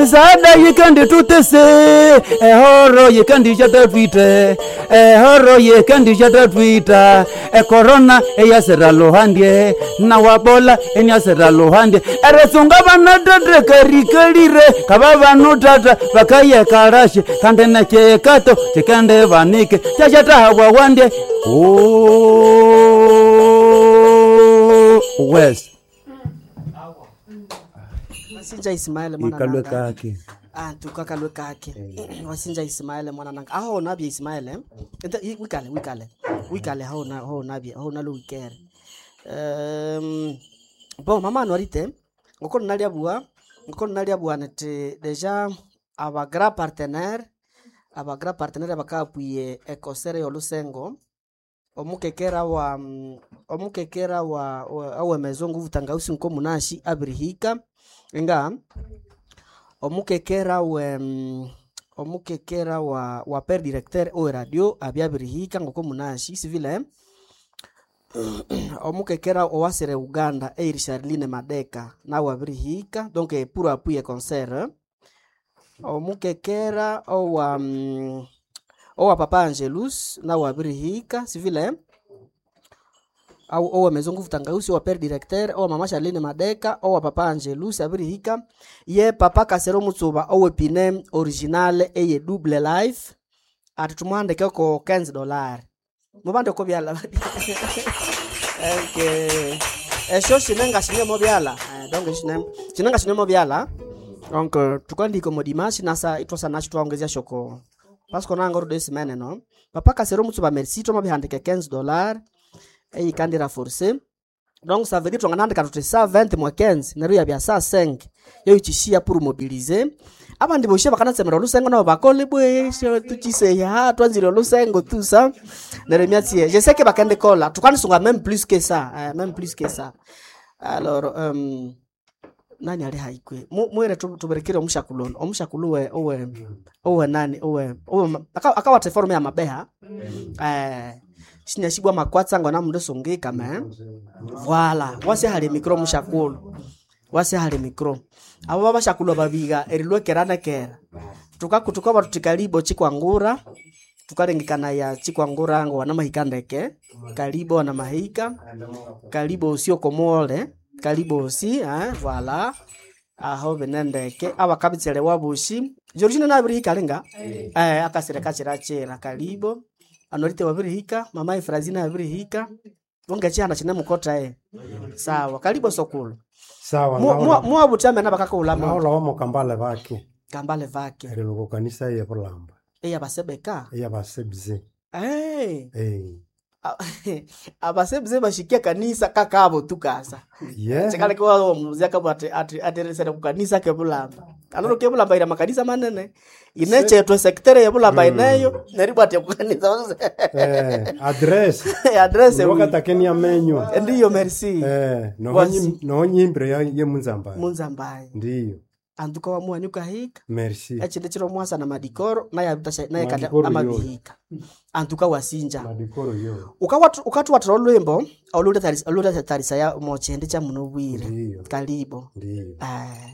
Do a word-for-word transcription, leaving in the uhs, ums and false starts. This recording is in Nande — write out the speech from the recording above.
Misaada yikanditutese ehoro yikandishatatwite ehoro yikandishatatwita ekorona eyasira luhandye nawabola eniasira luhandye eritsunga bana tata karikalire kaba banu tata bakayekarashe kandi nekyekato kikende banike kyashatahabwa wandye Oh, west Wasinja Ismael mwana ikalwe nanga. kake Ah, tukakalwe kake. Wasinja Ismael mwana nanga. Aho nabye Ismael. eh? Ente i- wikale wikale. Wikale aho na aho nabye aho nalo wikere. Um, bon mama anuarite ngoko naliabua ngoko naliabua nti deja aba grand partenaire aba grand partenaire bakapwiye ekosere yolusengo omukekera wa mm, omukekera wa, wa awemezo nguvu tangausi nko munashi abirihika nga omukekera we mm, omukekera wa wa per directeur owe radio abyabirihika ngoko munashi sivile omukekera owasire uganda eiri charline madeka nawe abirihika donc eh, pour appuyer concert omukekera owa mm, owa papa angelus nawe abirihika sivile au owa maison nguvu tangausi owa père directeur owa mama charline madeka owa papa angelus abirihika ye papa kasero mutsuba owe pine original eye double life ati tumuhandikeko quinze dollar mubande ko byala okay. Esho shinenga shine mo byala Eh, donc shine shinenga shine mo byala donc euh, tukandiko mo dimanche nasa itwasa nacho twaongezea shoko parce qu'on a encore deux semaines non papa kasero mutsuba merci toma bihandike quinze dollars eyikandira forcé donc ça veut dire twanganandika tuti cent vingt mwa quinze neryo yabya cent cinq yoyichishia pour mobiliser abandi boshe bakanatsemera olusengo nabo bakole bwe tuchiseya twanzire olusengo tout ça neryo myatsi je sais que bakende kola tukanisunga même plus que ça eh, même plus que ça alors um, nani ali haikwe mwere tuberekere omushakulo ono omushakulu we owe owe nani owe owe akawatha eforume ya mabeha eh sinyashibwa makwatsa ngona mundu sungika me voila wase hali mikro mushakulu wase hali mikro abo babashakulu babiga erilwekerana kera tukakutuka batu kalibo chikwangura tukalengekana ya chikwangura ngo wana mahika ndeke kalibo wana mahika kalibo usio komole kalibo osi eh, voila aho binendeke abakabitsele wabushi Georgina nabirihika linga eh akasire kachira kalibo anorite wabirihika mama Efrazina abirihika wongechihana chine mukota eh sawa kalibo sokulu Sawa, naola- muwabutame nabakakulama naola wamo kambale bake kambale vake erilo kanisa ye bulamba eya basebeka eyabasebze hey. eh abasebze bashikia kanisa kakabo tukasa yeah chikaleke kabwa ati ati ateresere kukanisa kebulamba aloro kebulamba ira makanisa manene inechetwe sektere yebulamba ineyo neribwa ati kukanisa eh address address wakatakenia menywa ndiyo merci eh Wasi. nohonyimbire ye munzamba munzambaye ndiyo anduka wamuhanyuka hika merci echinde chiro mwasa na madikoro naye abitasha naye kati Madikoro amabihika anduka wasinja madikoro yo ukatuwatira olwimbo olutatarisa ya mochende cha muno bwire ndiyo kalibo ndiyo eh